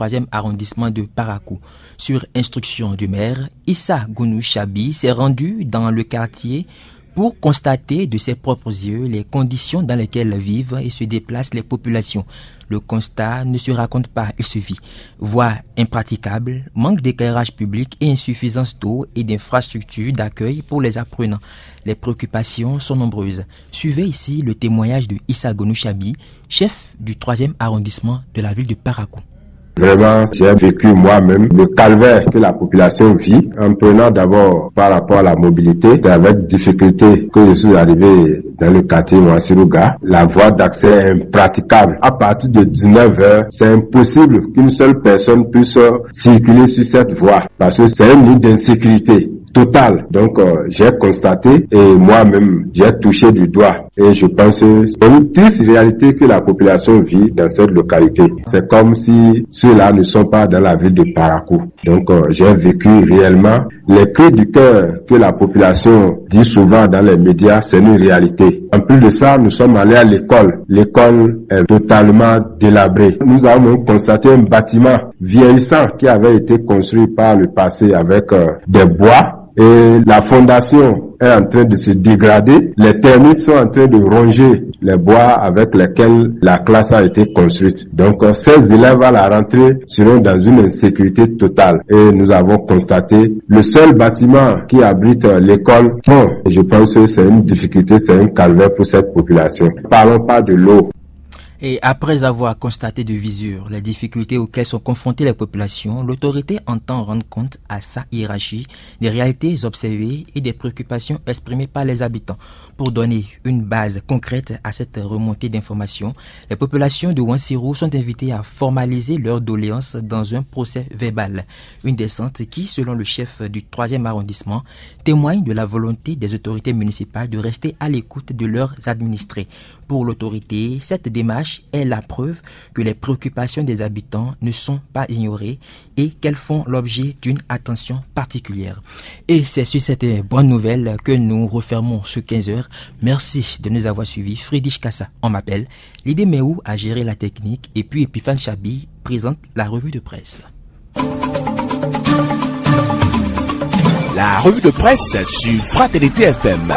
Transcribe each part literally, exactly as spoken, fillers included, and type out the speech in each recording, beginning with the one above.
troisième arrondissement de Parakou. Sur instruction du maire, Issa Gounou Chabi s'est rendu dans le quartier pour constater de ses propres yeux les conditions dans lesquelles vivent et se déplacent les populations. Le constat ne se raconte pas, il se vit. Voies impraticables, manque d'éclairage public et insuffisance d'eau et d'infrastructures d'accueil pour les apprenants. Les préoccupations sont nombreuses. Suivez ici le témoignage de Issa Gounou Chabi, chef du troisième arrondissement de la ville de Parakou. Vraiment, j'ai vécu moi-même le calvaire que la population vit en prenant d'abord par rapport à la mobilité. C'est avec difficulté que je suis arrivé dans le quartier Wansiruga. La voie d'accès est impraticable. À partir de dix-neuf heures, c'est impossible qu'une seule personne puisse circuler sur cette voie parce que c'est un nid d'insécurité totale. Donc, euh, j'ai constaté et moi-même, j'ai touché du doigt. Et je pense que c'est une triste réalité que la population vit dans cette localité. C'est comme si ceux-là ne sont pas dans la ville de Parakou. Donc, euh, j'ai vécu réellement les cris du cœur que la population dit souvent dans les médias, c'est une réalité. En plus de ça, nous sommes allés à l'école. L'école est totalement délabrée. Nous avons constaté un bâtiment vieillissant qui avait été construit par le passé avec euh, des bois. Et la fondation est en train de se dégrader. Les termites sont en train de ronger les bois avec lesquels la classe a été construite. Donc, euh, ces élèves à la rentrée seront dans une insécurité totale. Et nous avons constaté le seul bâtiment qui abrite euh, l'école. Bon, je pense que c'est une difficulté, c'est un calvaire pour cette population. Parlons pas de l'eau. Et après avoir constaté de visu les difficultés auxquelles sont confrontées les populations, l'autorité entend rendre compte à sa hiérarchie des réalités observées et des préoccupations exprimées par les habitants. Pour donner une base concrète à cette remontée d'informations, les populations de Wansirou sont invitées à formaliser leurs doléances dans un procès verbal. Une descente qui, selon le chef du troisième arrondissement, témoigne de la volonté des autorités municipales de rester à l'écoute de leurs administrés. Pour l'autorité, cette démarche est la preuve que les préoccupations des habitants ne sont pas ignorées et qu'elles font l'objet d'une attention particulière. Et c'est sur cette bonne nouvelle que nous refermons ce quinze heures. Merci de nous avoir suivis. Friedrich Kassa, on m'appelle. L'idée Meou a géré la technique et puis Epiphane Chabi présente la revue de presse. La revue de presse sur Fraternité F M.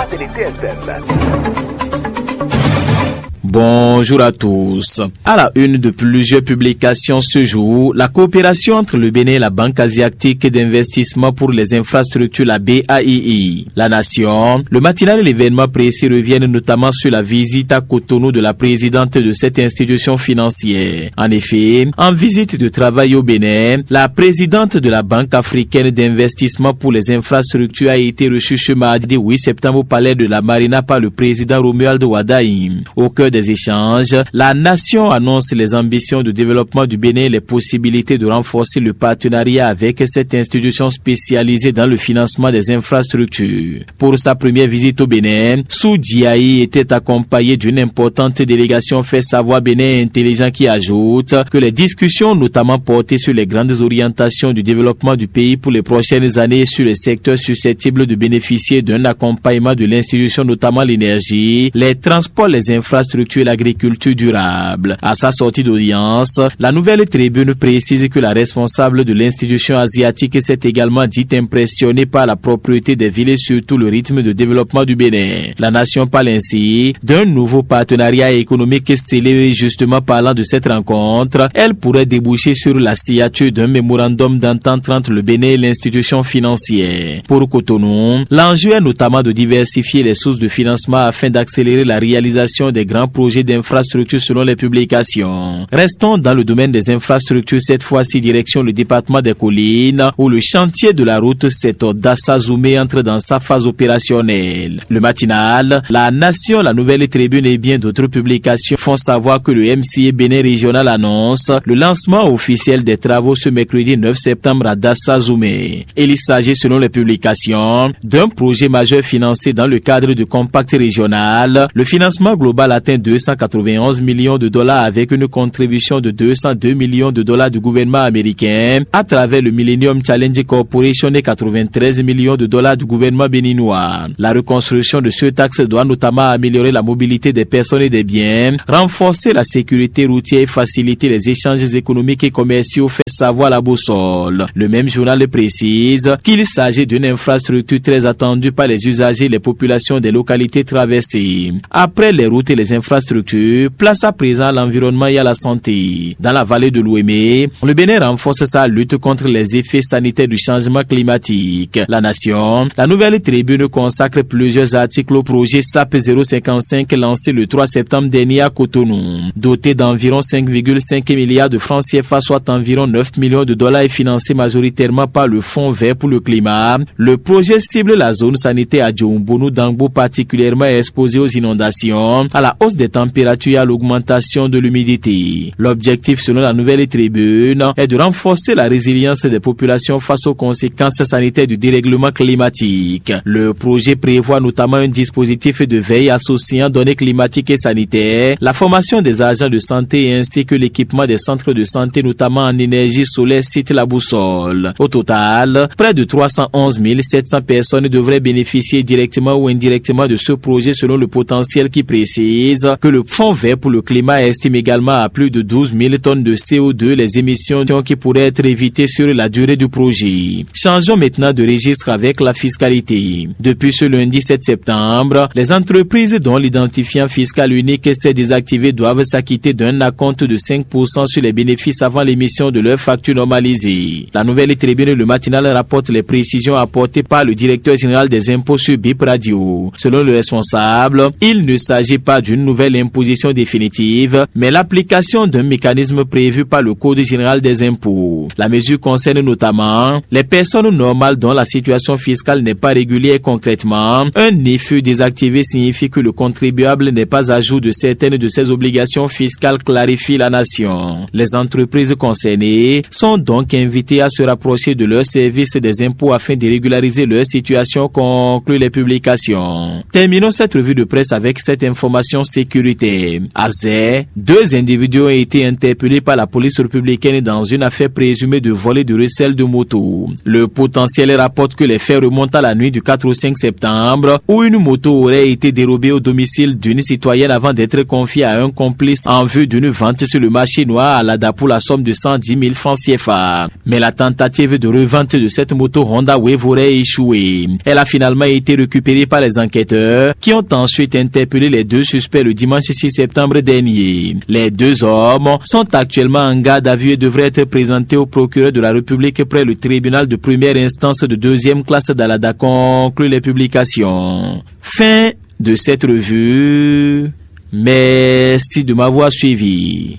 Bonjour à tous. À la une de plusieurs publications ce jour, la coopération entre le Bénin et la Banque asiatique d'investissement pour les infrastructures, la B A I I. La Nation, le matinal et l'événement précis reviennent notamment sur la visite à Cotonou de la présidente de cette institution financière. En effet, en visite de travail au Bénin, la présidente de la Banque africaine d'investissement pour les infrastructures a été reçue ce mardi huit septembre au palais de la Marina par le président Romuald Wadagni. Au cœur des échanges, la nation annonce les ambitions de développement du Bénin et les possibilités de renforcer le partenariat avec cette institution spécialisée dans le financement des infrastructures. Pour sa première visite au Bénin, Sou Djaï était accompagné d'une importante délégation, fait savoir Bénin Intelligent, qui ajoute que les discussions ont notamment porté sur les grandes orientations du développement du pays pour les prochaines années et sur les secteurs susceptibles de bénéficier d'un accompagnement de l'institution, notamment l'énergie, les transports, les infrastructures et l'agriculture durable. À sa sortie d'audience, la nouvelle tribune précise que la responsable de l'institution asiatique s'est également dite impressionnée par la propreté des villes et surtout le rythme de développement du Bénin. La nation parle ainsi d'un nouveau partenariat économique scellé. Justement, parlant de cette rencontre, elle pourrait déboucher sur la signature d'un mémorandum d'entente entre le Bénin et l'institution financière. Pour Cotonou, l'enjeu est notamment de diversifier les sources de financement afin d'accélérer la réalisation des grands projets d'infrastructure, selon les publications. Restons dans le domaine des infrastructures, cette fois-ci direction le département des Collines, où le chantier de la route sept Dassa-Zoumé entre dans sa phase opérationnelle. Le Matinal, La Nation, La Nouvelle Tribune et bien d'autres publications font savoir que le M C A Bénin Régional annonce le lancement officiel des travaux ce mercredi neuf septembre à Dassa-Zoumé. Il s'agit, selon les publications, d'un projet majeur financé dans le cadre du Compact régional. Le financement global atteint deux cent quatre-vingt-onze millions de dollars avec une contribution de deux cent deux millions de dollars du gouvernement américain à travers le Millennium Challenge Corporation et quatre-vingt-treize millions de dollars du gouvernement béninois. La reconstruction de ce axe doit notamment améliorer la mobilité des personnes et des biens, renforcer la sécurité routière et faciliter les échanges économiques et commerciaux, fait Savoir la boussole. Le même journal précise qu'il s'agit d'une infrastructure très attendue par les usagers et les populations des localités traversées. Après les routes et les infrastructures, place à présent à l'environnement et à la santé. Dans la vallée de l'Ouémé, le Bénin renforce sa lutte contre les effets sanitaires du changement climatique. La Nation, la Nouvelle Tribune consacre plusieurs articles au projet sap zéro cinquante-cinq lancé le trois septembre dernier à Cotonou. Doté d'environ cinq virgule cinq milliards de francs C F A, soit environ neuf millions de dollars, et financé majoritairement par le Fonds vert pour le climat, le projet cible la zone sanitaire à Djoumbonou Dangbo, particulièrement exposée aux inondations, à la hausse des températures et à l'augmentation de l'humidité. L'objectif, selon la Nouvelle Tribune, est de renforcer la résilience des populations face aux conséquences sanitaires du dérèglement climatique. Le projet prévoit notamment un dispositif de veille associant données climatiques et sanitaires, la formation des agents de santé ainsi que l'équipement des centres de santé, notamment en énergie solaire, cite la boussole. Au total, près de trois cent onze mille sept cents personnes devraient bénéficier directement ou indirectement de ce projet, selon le potentiel qui précise que le Fonds vert pour le climat estime également à plus de douze mille tonnes de C O deux les émissions qui pourraient être évitées sur la durée du projet. Changeons maintenant de registre avec la fiscalité. Depuis ce lundi sept septembre, les entreprises dont l'identifiant fiscal unique s'est désactivé doivent s'acquitter d'un acompte de cinq pour cent sur les bénéfices avant l'émission de leur facture normalisée. La Nouvelle Tribune, le matinal, rapporte les précisions apportées par le directeur général des impôts sur Bip Radio. Selon le responsable, il ne s'agit pas d'une nouvelle imposition définitive, mais l'application d'un mécanisme prévu par le Code général des impôts. La mesure concerne notamment les personnes normales dont la situation fiscale n'est pas régulière. Concrètement, un I F U désactivé signifie que le contribuable n'est pas à jour de certaines de ses obligations fiscales, clarifie la Nation. Les entreprises concernées sont donc invitées à se rapprocher de leur service des impôts afin de régulariser leur situation, conclut les publications. Terminons cette revue de presse avec cette information sécuritaire. À Zé, deux individus ont été interpellés par la police républicaine dans une affaire présumée de vol et de recel de moto. Le Potentiel rapporte que les faits remontent à la nuit du quatre au cinq septembre, où une moto aurait été dérobée au domicile d'une citoyenne avant d'être confiée à un complice en vue d'une vente sur le marché noir à Lada pour la somme de cent dix mille francs C F A. Mais la tentative de revente de cette moto Honda Wave aurait échoué. Elle a finalement été récupérée par les enquêteurs, qui ont ensuite interpellé les deux suspects le dimanche six septembre dernier. Les deux hommes sont actuellement en garde à vue et devraient être présentés au procureur de la République près le tribunal de première instance de deuxième classe d'Alada, conclut les publications. Fin de cette revue. Merci de m'avoir suivi.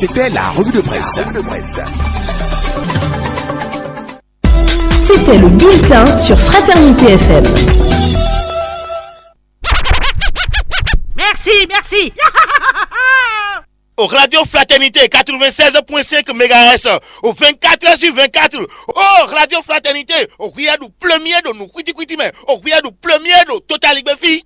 C'était la revue de presse. C'était le bulletin sur Fraternité F M. Merci, merci. Au Radio Fraternité quatre-vingt-seize point cinq mégahertz, au vingt-quatre heures sur vingt-quatre. Oh, Radio Fraternité, au rien du premier de nous, kwiti kwiti, mais au rien du premier de Total Igbefi.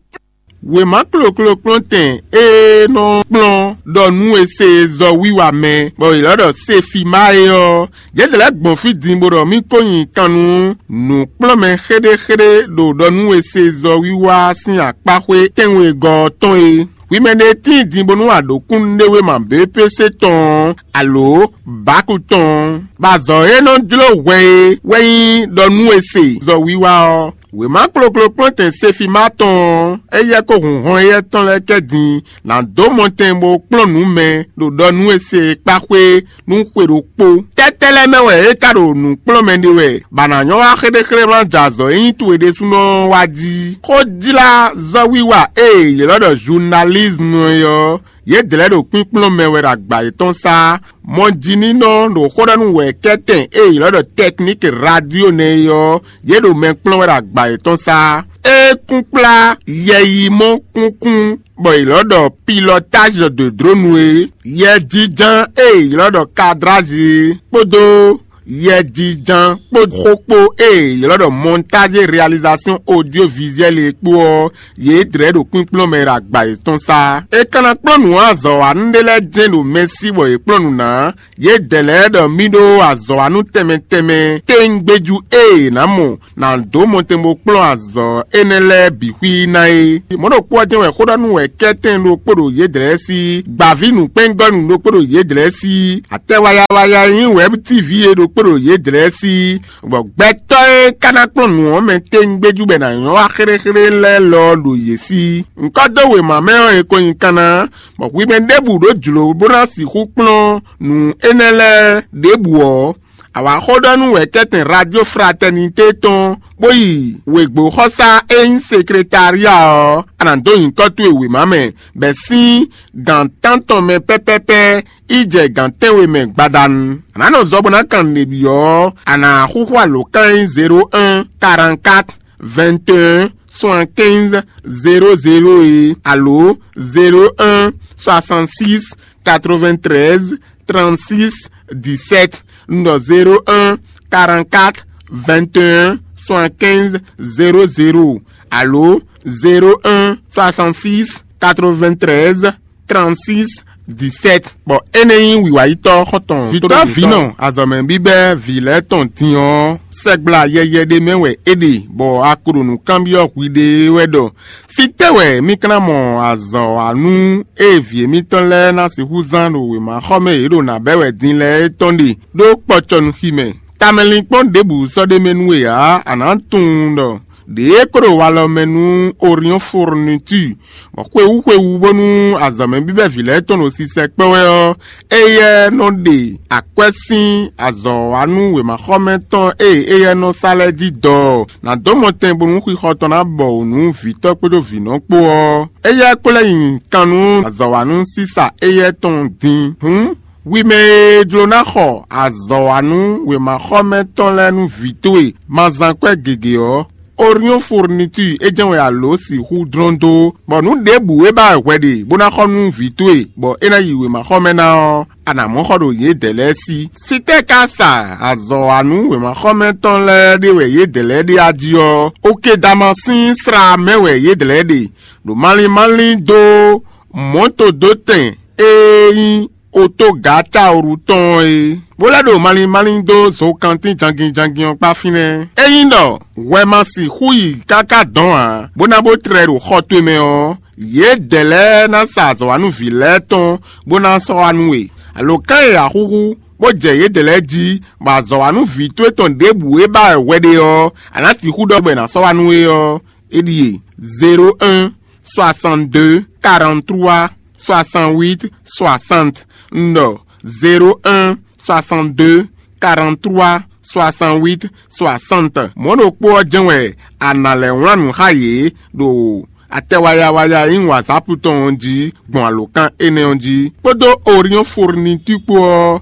Wěma kloklo kplɔ́ntɛn e nɔ kplɔ́n ɖɔ nú e se zɔ wiwa mɛ, bɔ è lɔ́ ɖɔ Sefima é ɔ́, yě lɛ́ gbɔn fí din bó ɖɔ mì ko nyi kan nú nǔkplɔ́nmɛ xéɖéxéɖé ɖo ɖɔ nú e se zɔ wiwa sín akpáxwé tɛ́nwegɔ́ ɔ́ tɔn é. Hwi mɛ ɖé tíin din bónú a ɖǒ kúnnuɖewéma B P C tɔn ɔ́, alo bǎku tɔn ɔ́, bɔ azɔ̌ e nɔ jló hwɛ é wɛ nyí ɖɔ nú e se zɔ wiwa ɔ́. Wěma kloklo kplɔ́ntɛn Sefima tɔn ɔ́, éyɛ́ kó hun hɔn éyɛ́ tɔn lɛ́ɛ kɛ din ná dó mɔtɛn bó kplɔ́n nǔ mɛ ɖo ɖɔ nú e se kpáxwé nú xwe ɖokpó. Tɛ́tɛ́ lɛ́ɛ mɛ wɛ é ka ɖo nǔ kplɔ́n mɛ ɖe wɛ, bɔ a nǎ nyɔ́ wá xéɖéxéɖé ma jɛ azɔ̌ e nyí towe ɖésúnɔ ɔ́ wá jí? Xó jlá zɔ́ wiwa e è ylɔ́ ɖɔ journalisme é ɔ́, yědɛɛ lɛ́ɛ ɖo kpínkplɔ́n mɛ wɛ ɖo agba yětɔn sá. Mɔjínínɔ ɖo xó ɖɔ nú wɛ̌kɛ́tɛn e è ylɔ́ ɖɔ technique radio nɛ́ é ɔ́, yě ɖo mɛ kplɔ́n wɛ ɖo agba yětɔn sá. É kún kplá yɛyimɔ kúnkún bɔ è ylɔ́ ɖɔ pilotage de drone é, yɛjínjɔ́n e è ylɔ́ ɖɔ cadrage é, kpódó Yɛjiján kpó xó kpó e è ylɔ́ ɖɔ montage réalisation audiovisuelle é kpó ɔ́, yě dlɛ̌ ɖo kpínkplɔ́n mɛ ɖo agba yětɔn sá. È ka ná kplɔ́n nǔ azɔ̌wanú ɖé lɛ́ɛ jɛ́n ɖo mɛ sí bɔ yě kplɔ́n nǔ ná. Yědɛɛ lɛ́ɛ ɖɔ mì ɖó azɔ̌wanú tɛnmɛ tɛnmɛ téŋgbéjú e è nǎ mɔ ná dó mɔtɛn bó kplɔ́n azɔ̌ énɛ́ lɛ́ɛ bǐ xwí ná é. Mɔ̌ ɖokpó ɔ́ jɛ́n wɛ xó ɖɔ nú wɛ kɛ́tɛn ɖokpó ɖo yědɛɛ sí, gbǎví nǔkpɛ́ngɔ́nú ɖokpó ɖo yědɛɛ sí, atɛ wayawaya e nyí Wɛ̌b T V é ɖokpó ɖo yědɛɛ sí, bɔ gbɛtɔ́ e ka ná kplɔ́n nǔ ɔ́ mɛ téŋgbéjú bɔ è nǎ nyɔ́ wá xéɖéxéɖé lɛ́ɛ lɔ ɖo yě sí. Ŋkɔ́ dó wěma mɛ ɔ́, è ko nyi kanna, bɔ hwi mɛ ɖěbǔ ɖó jlǒ bó ná sixú kplɔ́n nǔ énɛ́ lɛ́ɛ ɖěbǔ ɔ́, a wǎ xó ɖɔ nú wɛ̌kɛ́tɛn Radio Fraternité tɔn, bó yi wěgbóxɔsá e nyí sekretária ɔ́, a nǎ dó nyǐkɔ towe wěma mɛ, bɔ è sín gan tántɔn mɛ pɛ́pɛ́pɛ́ yi jɛ gan tɛ́nwe mɛ gbadanu. A nǎ nɔ zɔ bó ná kan nǔɖé byɔ́ ɔ́, a nǎ xúxú alǒkan e nyí zéro un, quarante-quatre, vingt et un, soixante-quinze, zéro zéro é, alo zéro un, soixante-six, quatre-vingt-treize, trente-six, dix-sept, un, zéro un, quarante-quatre, vingt et un, soixante-quinze, zéro zéro, alo zéro un, soixante-six, quatre-vingt-treize, trente-six, dix-sept. Bɔ énɛ́ nyí wǐwáyítɔ́ xɔ́ntɔn. Vǐtɔ́ vǐnɔ, azɔ̌mɛ bíbɛ́ vǐ lɛ́ɛ tɔn din ɔ́, sɛgbla yɛyɛ ɖé mɛ wɛ é ɖe, bɔ a ko ɖo nǔ kanbyɔ́ hwiɖée wɛ ɖɔ: Fítɛ́ wɛ mì ka ná mɔ azɔ̌wanú e vǐ émítɔn lɛ́ɛ ná sixú zán ɖo wěmaxɔmɛ e yě ɖo nǎ bɛ́ wɛ din lɛ́ɛ é tɔn ɖe, ɖó kpɔcɔnuxi mɛ? Tamɛlinkpɔ́n ɖěbǔ sɔ́ ɖ'é mɛ nú we ǎ; a nǎ tunwun ɖɔ ɖěe ko ɖo walɔ mɛ nú Orion Fourniture, bɔ xwewú xwewú bónú azɔ̌mɛ bíbɛ́ vǐ lɛ́ɛ tɔn ɖo sisɛ kpɛ́ wɛ ɔ́, éyɛ́ nɔ ɖe akwɛ́ sín azɔ̌wanú wěmaxɔmɛ tɔn e éyɛ́ nɔ sa lɛ́ɛ jí dɔ ɔ́, nǎ dó mɔtɛn bónú xixɔ tɔn ná bɔ wǔ nú vǐtɔ́ kpódó vǐnɔ kpó ɔ́. Éyɛ́ ko lɛ́ nyi kan nú azɔ̌wanú sísa éyɛ́ tɔn din. Hǔn, hwi mɛ e jló ná xɔ azɔ̌wanú wěmaxɔmɛ tɔn lɛ́ɛ nú vǐ towe ma zán kwɛ́ gěgé ɔ́, Orion Fourniture é jɛ́n wɛ a lǒ sixú dlɔ́n dó, bɔ nǔ ɖěbǔ e ba wɛ hwɛ ɖe bó ná xɔ nú vǐ towe, bɔ é ná yi wěmaxɔmɛ ná ɔ́, a nǎ mɔ xɔ ɖo yědɛɛ lɛ́ɛ sí. Sitɛ́ ka sa azɔ̌wanú wěmaxɔmɛ tɔn lɛ́ɛ ɖé wɛ yědɛɛ lɛ́ɛ ɖe a jí ɔ́, Okedama sín sla mɛ wɛ yědɛɛ lɛ́ɛ ɖe, ɖo malín málín dó mɔ̌to dó tɛn e nyí otógatáoru tɔn ɔ́ é, bó lɛ́ ɖo malín málín dó zokantín jangin jangin ɔ́ kpá fínɛ́. Ényí ɖɔ hwɛ ma sixú yi káká dɔn ǎ, bó ná bó tlɛ ɖo xɔ towe mɛ ɔ́, yědɛɛ lɛ́ɛ ná sa azɔ̌wanúví lɛ́ɛ tɔn bó ná sɔ́ wá nú we. Alǒkan e a xúxú, bó jɛ yědɛɛ lɛ́ɛ jí, bɔ azɔ̌wanúví towe tɔn ɖěbǔ e ba wɛ hwɛ ɖe ɔ́, a nǎ sixú ɖɔ bɔ è nǎ sɔ́ wá nú we ɔ́, é ɖíe: zéro un, soixante-deux, quarante-trois, soixante-huit, soixante. Un ɖɔ: zéro un, soixante-deux, quarante-trois, soixante-huit, soixante. Mɔ̌ ɖokpó ɔ́ jɛ́n wɛ a nǎ lɛ́ wlán nǔ xá yě ɖo atɛ wayawaya e nyí WhatsApp tɔn ɔ́ jí gbɔn alǒkan énɛ́ ɔ́ jí, kpódó Orion Fourniture kpó ɔ́,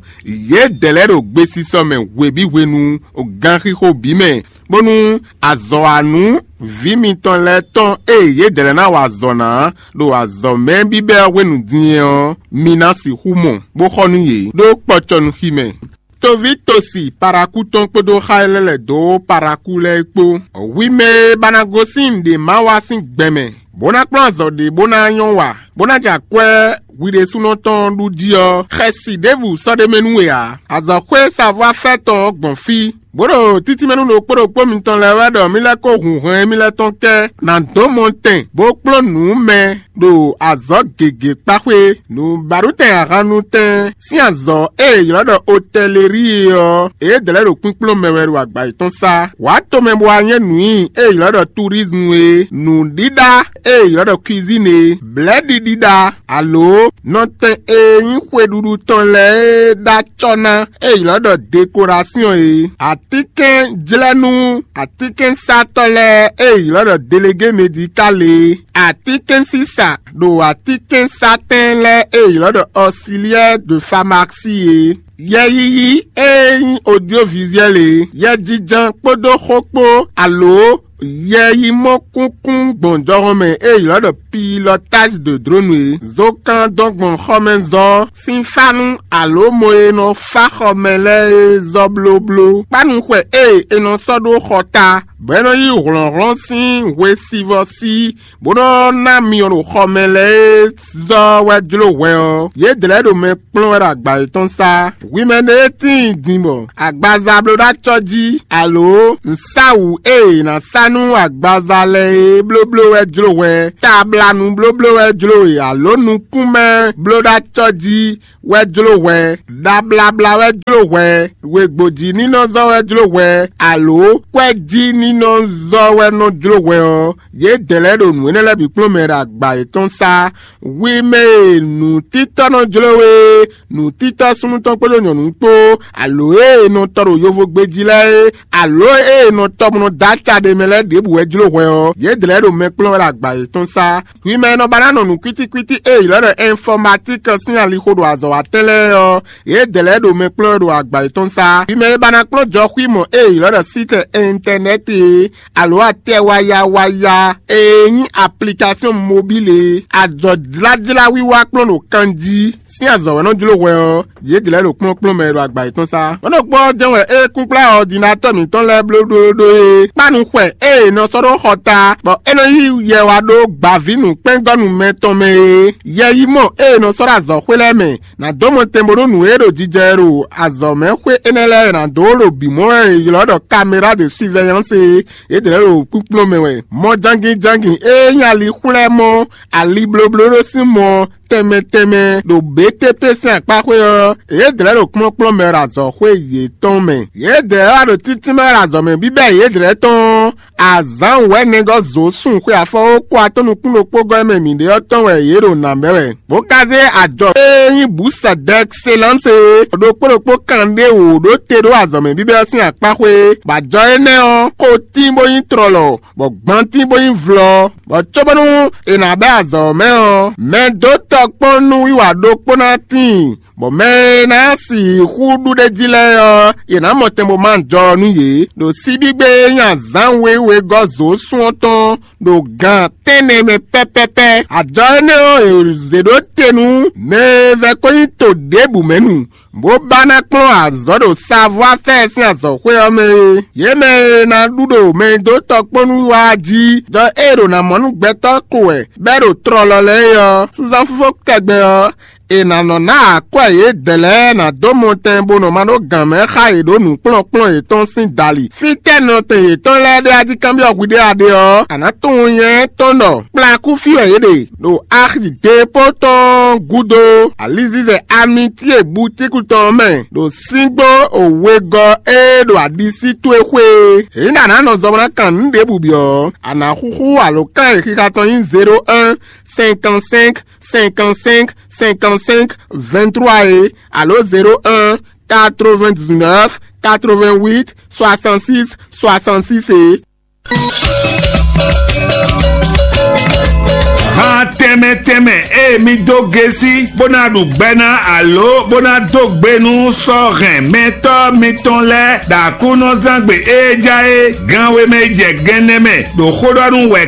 yědɛɛ lɛ́ɛ ɖo gbesisɔ mɛ hwebǐ hwenu, ganxixo bǐ mɛ, bónú azɔ̌wanú vǐ mitɔn lɛ́ɛ tɔn e yědɛɛ lɛ́ɛ ná wa azɔ̌ ná ɖo azɔ̌mɛ bíbɛ́ ɔ́ hwenu din é ɔ́, mi ná sixú mɔ, bó xɔ nú yě ɖó kpɔcɔnuxi mɛ. Toví tosi Parakú tɔn kpódó xá e lɛ́ lɛ̌ dó Parakú lɛ́ɛ kpó. Hwi mɛ e ba ná gosín nǔɖé ma wa sín gbɛmɛ, bó ná kplɔ́n azɔ̌ ɖé bó ná nyɔ́ wa, bó ná jɛ akwɛ́ hwi ɖésúnɔ tɔn ɖu jí ɔ́, xɛsi ɖěbǔ sɔ́ ɖ'é mɛ nú we ǎ. Azɔ̌xwé savɔ́afɛ́ tɔn ɔ́ gbɔn fí, bó ɖo títínmɛ nú ɖokpó ɖokpó mitɔn lɛ́ɛ wɛ ɖɔ mì lɛ́ kó hun hɛn émí lɛ́ɛ tɔn kɛ́ ná dó mɔ tɛn, bó kplɔ́n nǔ mɛ ɖo azɔ̌ gěgé kpá xwé. Nǔbaɖutɛn ahannutɛn sín azɔ̌ e è ylɔ́ ɖɔ otɛlelíi é ɔ́, yědɛɛ lɛ́ɛ ɖo kpínkplɔ́n mɛ wɛ ɖo agba yětɔn sá. Wǎ tomɛ bó wá nyɛ́ nǔ nyi e è ylɔ́ ɖɔ turizmu é, nǔɖíɖá e è ylɔ́ ɖɔ kwizín é, blɛ̌ɖiɖíɖá, alo nɔtɛn e nyí xweɖuɖu tɔn lɛ́ɛ e ɖó acɔ́ ná e è ylɔ́ ɖɔ dekorásyɔn é, atínkɛnjlɛ́nú atínkɛnsátɔ́ lɛ́ɛ e è ylɔ́ ɖɔ delegé medikál é, atínkɛnsísa ɖo atínkɛnsátɛn lɛ́ɛ e è ylɔ́ ɖɔ ɔsiliyɛ́ɛ de famási é, yɛyiyi e nyí odyovizyɛ́l é, yɛjijɛ kpódó xó kpó, alo Yɛ yi mɔ kúnkún gbɔn jɔhɔn mɛ e ylɔ́ ɖɔ pilotage de drone é. Zokán dɔn gbɔn xɔmɛzɔ́ sín fánú alo mɔ e nɔ fá xɔmɛ lɛ́ɛ é zɔ́ blóbló. Kpánu xwɛ e è nɔ sɔ́ ɖó xɔ ta, bɔ é nɔ yí hlɔ̌nhlɔ́n sín hwesivɔ́ sí, bó nɔ́ ná myɔ ɖo xɔmɛ lɛ́ɛ é zɔ́ wɛ jló hwɛ ɔ́, yědɛɛ lɛ́ɛ ɖo mɛ kplɔ́n wɛ ɖo agba yětɔn sá. Hwi mɛ ɖé e tíin din bɔ agbaza bló ɖó acɔ́ jí, alo nǔsáwǔ e è nǎ sá nú agbaza lɛ́ɛ é blóbló wɛ jló hwɛ, tablanu blóbló wɛ jló we, alo nukúnmɛ bló ɖó acɔ́ jí wɛ jló hwɛ, ɖablabla wɛ jló hwɛ, wěgbójí nínɔ́ zɔ́ wɛ jló hwɛ, alo kwɛ́jí nínɔ́ zɔ́ wɛ nɔ jló hwɛ ɔ́, yědɛɛ lɛ́ɛ ɖo nǔ énɛ́ lɛ́ɛ bǐ kplɔ́n mɛ ɖo agba yětɔn sá. Hwi mɛ e nǔtítɔ́ nɔ jló we, nǔtítɔ́ súnnu tɔn kpódó nyɔ̌nu kpó, alo e è nɔ tɔ ɖo yovogbe jí lɛ́ɛ é, alo e è nɔ tɔ bó nɔ dó aca ɖé mɛ lɛ́ɛ ɖěbǔ wɛ jló hwɛ ɔ́, yědɛɛ lɛ́ɛ ɖo mɛ kplɔ́n wɛ ɖo agba yětɔn sá. Hwi mɛ e nɔ ba ná nɔ nǔkwítíkwítí e è ylɔ́ ɖɔ ɛnfɔmatík sín alixo ɖo azɔ̌ wa tɛn lɛ́ɛ ɔ́, yědɛɛ lɛ́ɛ ɖo mɛ kplɔ́n wɛ ɖo agba yětɔn sá. Hwi mɛ e ba ná kplɔ́n jɔxwímɔ e è ylɔ́ ɖɔ sítɛ ɛntɛnɛ́ti é, alo atɛ waya waya e nyí aplikasyon mobíle e, azɔ̌jlájlá wiwa kplɔ́n ɖo kan jí sín azɔ̌ wɛ nɔ jló hwɛ ɔ́, yě jlɛ̌ ɖo kplɔ́nkplɔ́n mɛ e ɖo agba yětɔn sá. Mɔ̌ ɖokpó ɔ́ jɛ́n wɛ é kúnkplá ɔdinatɔ́ mǐtɔn lɛ́ɛ blóɖóɖó é. Kpánu xwɛ e è nɔ sɔ́ ɖó xɔ ta, bɔ é nɔ yí yɛ wá ɖó gbavǐnǔkpɛ́ngɔ́nú mɛtɔn mɛ é. Yɛ yí mɔ e è nɔ sɔ́ ɖo azɔ̌xwé lɛ́ɛ mɛ, nǎ dó mɔtɛn bónú nǔ e ɖo jijɛ wɛ ɖo azɔ̌mɛxwé énɛ́ lɛ́ɛ ná dó ɖo bǐ mɔ wɛ è ylɔ́ ɖɔ kaméra de surveillance é. Yědɛɛ ɖo kpíkplɔ́n mɛ wɛ. Mɔ jangin jangin e nyí ali xwlɛ́ mɔ, ali blóbló ɖó sín mɔ tɛnmɛ tɛnmɛ ɖo B T P sín akpáxwé ɔ́, yědɛɛ ɖo kplɔ́nkplɔ́n mɛ ɖo azɔ̌xwé yětɔn mɛ. Yědɛɛ wá ɖo títínmɛ ɖo azɔ̌ mɛ bíbɛ́ yědɛɛ tɔn ɔ́, azǎn wɛ̌nɛgɔ́ zǒ sun xwe afɔwókó atɔ́ nukún ɖokpó gɔ́ mɛ mǐɖée ɔ́ tɔn wɛ yě ɖo nǎ bɛ́ wɛ. Bó ka zé ajɔ e nyí bǔsɛ d'excellence e ɖokpó ɖokpó kan ɖé wǒ ɖó te ɖó azɔ̌ mɛ bíbɛ́ ɔ́ sín akpáxwé, bɔ ajɔ énɛ́ ɔ́, xo tín bó nyí tlɔlɔ, bɔ gban tín bó nyí vlɔ, bɔ cóbónú è nǎ bɛ́ azɔ̌ ɔ́ mɛ ɔ́, mɛ dó tɔkpɔ́n nú wiwa ɖokpó ná tíin, bɔ mɛ e ná sixú ɖu ɖ'é jí lɛ́ɛ ɔ́, yě ná mɔ tɛn bó má jɔ nú yě, ɖo síbígbe e nyí azǎn wěwé gɔ́ zǒ sun ɔ́ tɔn ɖo gan tɛ́nnɛ mɛ pɛ́pɛ́pɛ́. Ajɔ énɛ́ ɔ́, è zě ɖó te nú mɛ e vɛ́ ko nyí to ɖěbǔ mɛ nu, bó ba ná kplɔ́n azɔ̌ ɖo Savoir-faire sín azɔ̌xwé ɔ́ mɛ é. Yě mɛ e ná ɖu ɖo mɛ e dó tɔkpɔ́nú wá jí, ɖɔ é ɖo ná mɔ nú gbɛtɔ́ ko wɛ bɛ́ ɖo tlɔlɔ lɛ́ɛ é ɔ́, súnzán fífó tɛgbɛ ɔ́, è nǎ nɔ ná akwɛ́ yědɛɛ lɛ́ɛ ná dó mɔtɛn bó nɔ ma ɖó gǎn mɛ xá yě ɖó nǔkplɔ́nkplɔ́n yětɔn sín dali. Fítɛ́ nɔtɛn yětɔn lɛ́ɛ ɖe a jí kanbyɔ́ hwi ɖé a ɖe ɔ́, a nǎ tunwun nyɛ tɔn ɖɔ kplakú fí wɛ yě ɖe, ɖo axi depo tɔn gúdo, alizizɛ amitíe butíku tɔn mɛ, ɖo síngbó wegɔ́ e ɖo aɖisí towe xwé é. Ényí ɖɔ a nǎ nɔ zɔ bó ná kan nǔ ɖěbǔ byɔ́ ɔ́, a nǎ xúxú alǒkan e xixa tɔn nyí zéro un cinquante cinq cinquante cinq cinquante cinq vingt trois é, alo zéro un quatre-vingt-dix-neuf quatre-vingt-huit soixante-six soixante-six é. Han tɛnmɛ tɛnmɛ e mi dó gesi bó ná ɖu gbɛ ná alo bó ná dó gbe nú sɔ́ hɛn mɛtɔ́ mitɔn lɛ́ɛ ɖo Aklúnɔzángbe e ja é gan wemɛ jɛ gɛnɛ mɛ ɖo xó ɖɔ nú wɛ